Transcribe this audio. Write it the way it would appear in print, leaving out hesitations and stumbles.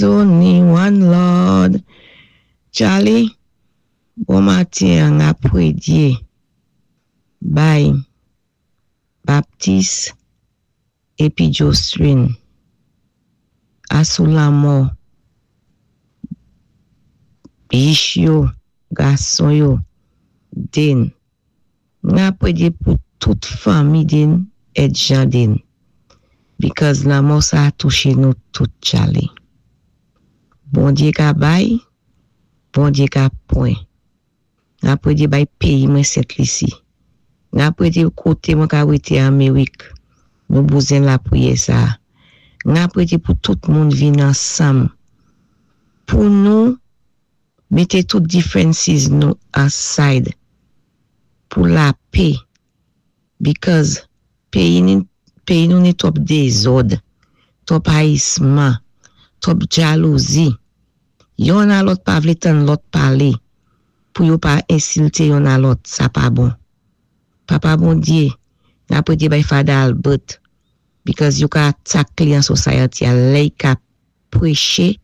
Only one Lord. Charlie, bon matin, an pwédyé bay Baptiste épi Jocelyn asou lanmò bich yo, gason yo, den. N pwédyé pou tout fanmi den èd jan den. Because lanmò sa a touché nou tout, Charlie. Bondyé ka bay, Bondyé ka pwan. N pwédyé bay péyi mwen Sent Lisi. N pwédyé koté mwen ka wété Amérik. Nou bézwen lapriyè sa. N pwédyé pou tout moun vin ansanm. Pou nou mété tout differences nou aside. Pou lapè. Because péyi nou ni twòp dézòd, twòp rayisman, twòp jalouzi. Youn a lòt pa vlé tann lòt palé pou yo pa ensilté youn a lòt, sa pa bon. Papa Bondyé, n pwédyé bay Father Albert because yo ka attack li an society a lè i ka pwéché.